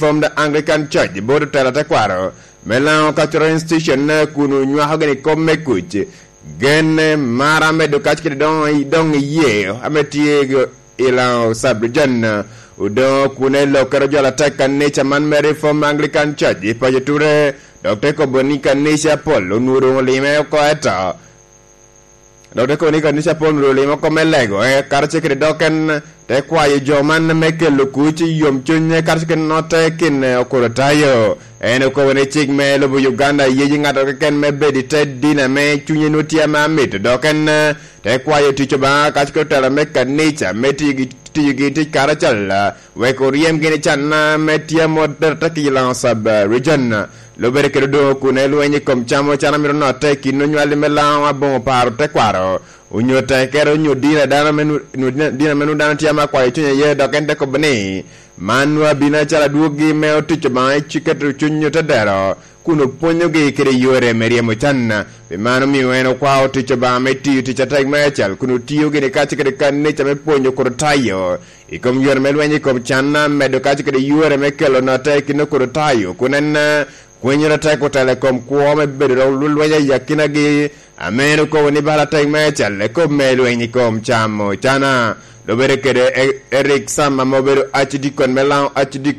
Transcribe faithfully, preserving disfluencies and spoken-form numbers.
Reformed Anglican Church, bot otelo tekwaro me Lango Cultural Institution, kun onywako gini kop me kuc. Gen, eh, mar amedo kac kede doŋ, doŋ iye ame tye i Lango Sub-Region, eh, odoŋo kun elokere jo atek kanica man me Reformed Anglican Church i paco Ture, dok te kobo ni kanica apol onwoŋo doŋ olime oko eto. Dok te kobo ni kanica apol onwoŋo olime oko me lego, eh, karacel kede dok en te kwayo jo man me kelo kuc i yomcuny, karacel kede notte kin, eh, Okototayo. En okobo ni cik me lobo Uganda yeji ŋato keken me bedo i te dina me cunye nwoŋo tye ame amito, dok en, eh, te kwayo tic Obaŋa kac kede otela me kanica me tiyo gi, tiyo gi tic karacel, wek oryem gini can me tye amot bedo atek i Lango Sub, eh, Region. Lubere kede odoŋo kun elweny i kom camo can amito notte i kin onywali me Lango aboŋo paro tekwaro, onyo tekere, onyo dina dano me nu-, nu-, dina, dina me nu dano tye ame akwayo cuny aye, dok en te kobo ni, "Man nwa abino acalo adwoggi me otic Obaŋa i ci-, keto cuny otedero, kun opwonyogi kede yore me ryemo can." Pi mano omio en okwao otic Obaŋa me tiyo tic atek me acel, kun otio gini kac kede kanica me pwonyo Okototayo i kom yore me lweny i kom can, medo kac kede yore me kelo notte i kin Okototayo, kun en, eh, kwenyere tek otelo i kom kwo me bedo dok lweny i akinagi, ame en okobo ni bala tek me acel i kop me lweny i kom camo cana. Lubere kede E-, Eric Sam, ame obedo accidikon me Lango accidikon